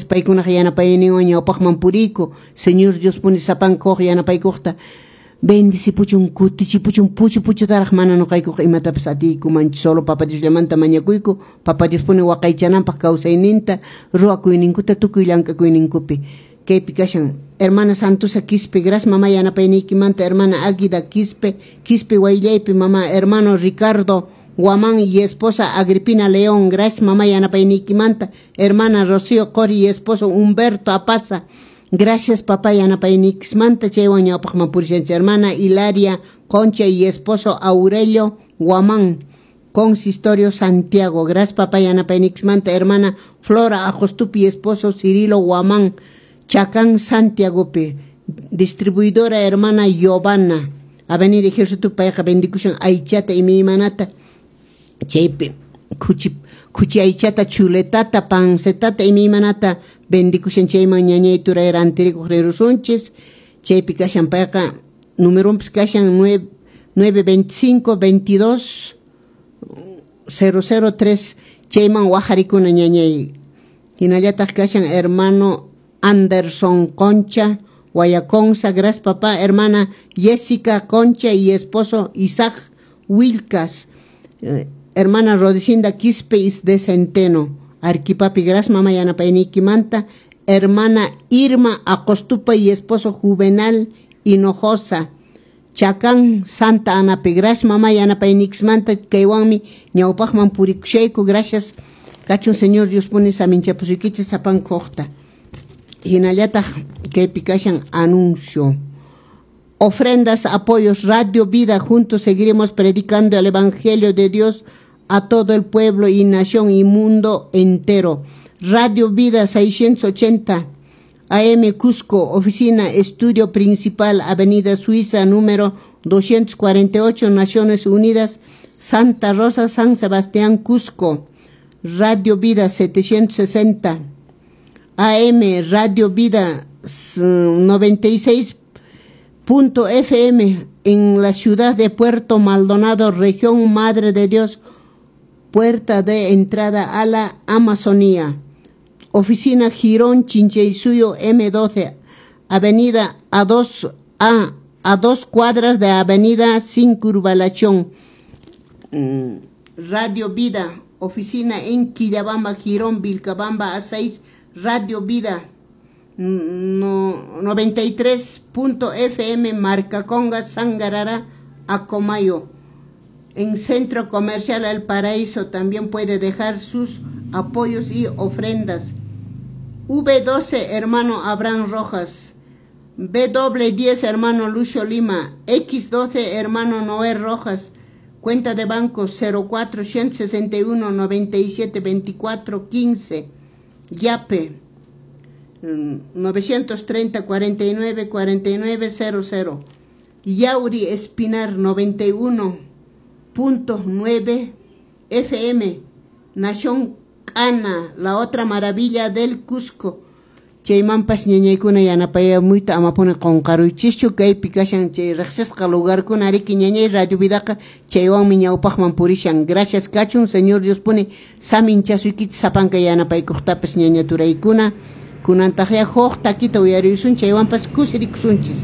Paykunaq yanapayninwan ñawpaqman puriyku. Señor Diospuni sapanka huk yanapaykuqta bendicipuchun, kutichipuchun, puchu puchutaraq. Mana nuqaykuqa imatapis atiykumanchu, solo Papa Diosllamanta mañakuyku, Papa Diospuni waqaychananpaq kawsayninta, ruwakuyninkuta, tukuy llank'akuyninkupi. Kaypi kashan hermana Santusa Quispe, gracias, mama, yanapayniykimanta. Hermana Águida Quispe, Quispe Wayllaypi, mama. Hermano Ricardo Guamán y esposa Agripina León, gracias, mamá, yanapayniykimanta. Hermana Rocío Cori y esposo Humberto Apaza, gracias, papá, yanapayniykismanta, chaywan ñawpaqman purishanchik. Hermana Hilaria Concha y esposo Aurelio Guamán, Consistorio Santiago, gracias, papá, yanapayniykismanta. Hermana Flora Ajostupi y esposo Cirilo Guamán, Chacán, Santiagopi. Distribuidora hermana Giovanna, Avenida Ejército, payqa bendikushan aychata, imaymanata, chaypi khuchi khuchi aychata, chuletata, pancetata, imaymanata bendikushan. Chayman ñañay turay rantirikuq rirusunchis. Chaypi kashan payqa, numeronpis kashan 9 925 22 003, chayman wajarikuna, ñañay. Hinallataq kashan hermano Anderson Concha, Guayaconza, gracias, papá. Hermana Jessica Concha y esposo Isaac Wilcas, hermana Rodicinda Quispe de Centeno, Arquipapi, gracias, mama, yanapayniykimanta. Hermana Irma Acostupa y esposo Juvenal Hinojosa, Chacán, Santa Anapi, gracias, mama, yanapayniykismanta. Kaywanmi ñawpaqman purikushayku. Gracias kachun, Señor Dios puni saminchapusuykichis sapanka. Hinallataq kaypi kashan anuncio. Ofrendas, apoyos, Radio Vida, juntos seguiremos predicando el Evangelio de Dios a todo el pueblo y nación y mundo entero. Radio Vida 680 AM Cusco, oficina, estudio principal, Avenida Suiza, número 248, Naciones Unidas, Santa Rosa, San Sebastián, Cusco. Radio Vida 760 AM, Radio Vida 96 FM en la ciudad de Puerto Maldonado, región Madre de Dios, puerta de entrada a la Amazonía. Oficina Girón Chinchaysuyo M12, Avenida A2 a 2 cuadras de Avenida Circunvalación. Radio Vida, oficina en Quillabamba, Girón, Vilcabamba A6, Radio Vida no, 93.fm, Marcaconga, Sangarara, Acomayo. En Centro Comercial El Paraíso también puede dejar sus apoyos y ofrendas. V12, hermano Abraham Rojas. W10, hermano Lucio Lima. X12, hermano Noé Rojas. Cuenta de banco 04 161 97 24 15. Yape 930 49 49 00. Yauri Espinar 91.9 FM. Nación Cana, la otra maravilla del Cusco. Chaymanpas, ñañaykuna, yanapayamuyta amapuni qunqaruychischu. Kaypi kashan chay riqsisqa lugarkuna riki, ñañay. Radio Vidaqa chaywanmi ñawpaqman purishan. Gracias kachun, Señor Dios puni saminchasuykichis sapanka yanapaykuqtapas, ñaña turaykuna. Kunantaqya huk takita uyarisun, chaywanpas kusirikusunchis.